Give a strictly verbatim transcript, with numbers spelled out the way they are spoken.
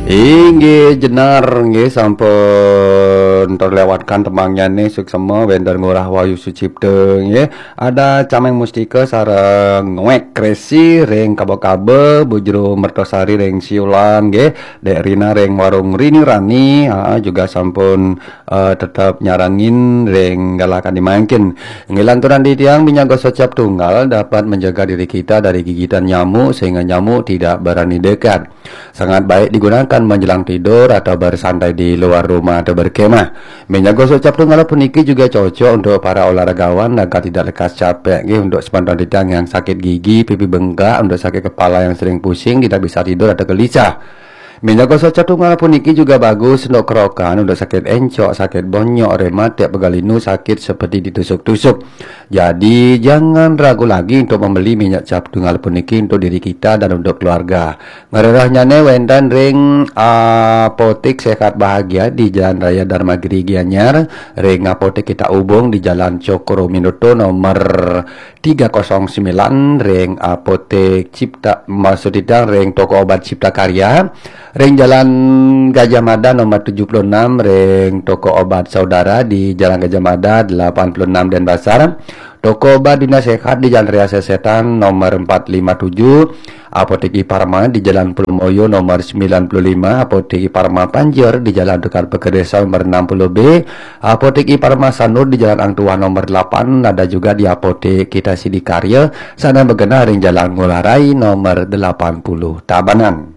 Inggih jenar nggih, sampun terlewatkan temangnya nih, suksema wénten Ngurah Wahyu Sucipta nggih. Ada Cameng Mustika sareng Ngwek Kresi ring Kaba-Kaba, Bu Jero Mertosari ring Siulan nggih, Dek Rina ring Warung Rini Rani, ha, juga sampun eh, tetap nyarengin ring galakan di mangkin. Ngilanturan di tiang, minyak gosok cap tunggal dapat menjaga diri kita dari gigitan nyamuk sehingga nyamuk tidak berani dekat. Sangat baik digunakan menjelang tidur atau bersantai di luar rumah atau berkemah. Minyak gosok cap tunggal puniki juga cocok untuk para olahragawan agar tidak lekas capek. Nggih, untuk sepantan titiang yang sakit gigi, pipi bengkak, untuk sakit kepala yang sering pusing, tidak bisa tidur atau gelisah. Minyak gosok cap tunggal puniki juga bagus untuk kerokan, untuk sakit encok, sakit bonyok, rematik, pegal linu, sakit seperti ditusuk-tusuk. Jadi, jangan ragu lagi untuk membeli minyak cap tunggal puniki untuk diri kita dan untuk keluarga. Ngrerehnyane wenten ring Apotek Sehat Bahagia di Jalan Raya Dharmagiri Gianyar, ring Apotek Kita Ubung di Jalan Cokroaminoto nomor tiga kosong sembilan, ring Apotek Cipta, maksud titiang ring toko obat Cipta Karya, ring Jalan Gajah Mada nomor tujuh puluh enam, ring toko obat Saudara di Jalan Gajah Mada delapan puluh enam Denpasar, toko obat Dina Sehat di Jalan Raya Sesetan nomor empat lima tujuh, Apotek Iparma di Jalan Plumoyo nomor sembilan puluh lima, Apotek Iparma Panjer di Jalan Tukad Pekeresa nomor enam puluh B, Apotek Iparma Sanur di Jalan Ang Tuah nomor delapan, ada juga di Apotek Kita Sidakarya, sane magenah ring Jalan Ngurah Rai nomor delapan puluh Tabanan.